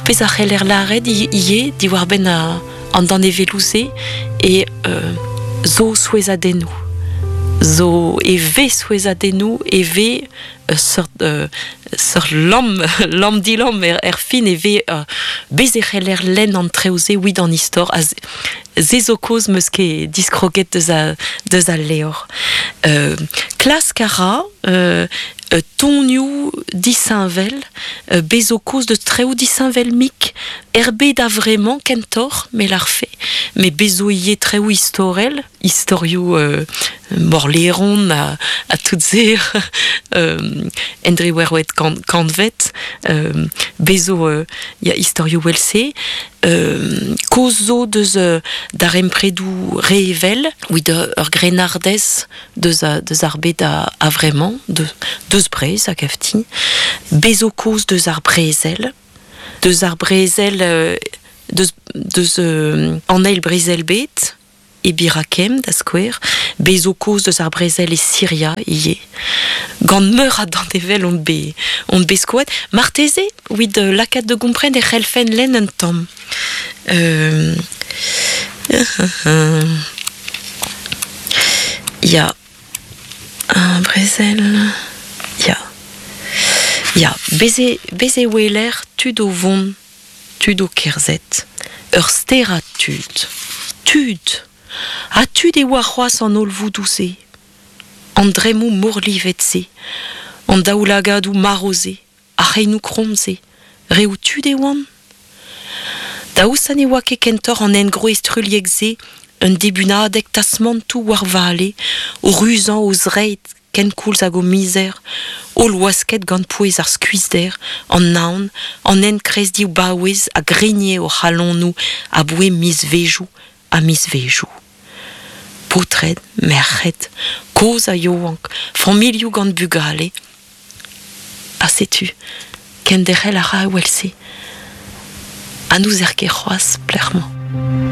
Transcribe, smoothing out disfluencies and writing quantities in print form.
pezh a c'heller lâret ivez diwar-benn an danevelloù-se eo zo souezhadennoù. Zo e vez souezhadennoù, e vez ur seurt seurt lamm lamm-dilamm er fin e vez bez e c'heller lenn an traoù-se evit an istor ha se zo kaoz 'm eus ket diskroget deus a deus al levr. Klask a ra tonioù disheñvel, bez zo kaoz deus traoù disheñvel-mik er bed a-vremañ kentoc'h me lârfe, met bez zo ivez traoù istorel. Istorioù morleron ha tout se en driwec'hvet kantved bez zo ya istorioù evel-se kaoz zo deus darempredoù revel evit ur grennardez deus deus ar bed a-vremañ deus Breizh a gav din bez zo kaoz deus ar brezel deus ar brezel deus deus an eil brezel-bed e Birakem, da skouer, bez zo kaoz deus ar brezel e Siria ivez. Gant meur a danevell on bet, on bet skoet. Marteze, evit lakaat da gompren e c'hellfen lenn un tamm. Euh, ya, un brezel... Ya. Ya, bez e, bez e weler tud o vont tud o kerzhet, ur sterad tud. Tud! Ha tud e oa c'hoazh an holl voudoù-se, an dremmoù morlivet-se, an daoulagadoù marv-se, ar c'heinoù kromm-se, reoù tud e oant? Daoust ha ne oa ket kentoc'h an engroez truilhek-se un dibunadeg tasmantoù war vale, o ruzañ o zreid kenkoulz hag o mizer, holl wasket gant pouez ar skuizhder, an naon, an enkrez div-baouez a grigne o c'halonoù aboe mizvezhioù ha mizvezhioù. Paotred, merc'hed, kozh ha yaouank, familhoù gant bugale. Ha setu, kenderc'hel a ra evel-se. Ha n'ouzer ket c'hoazh pelec'h 'mañ.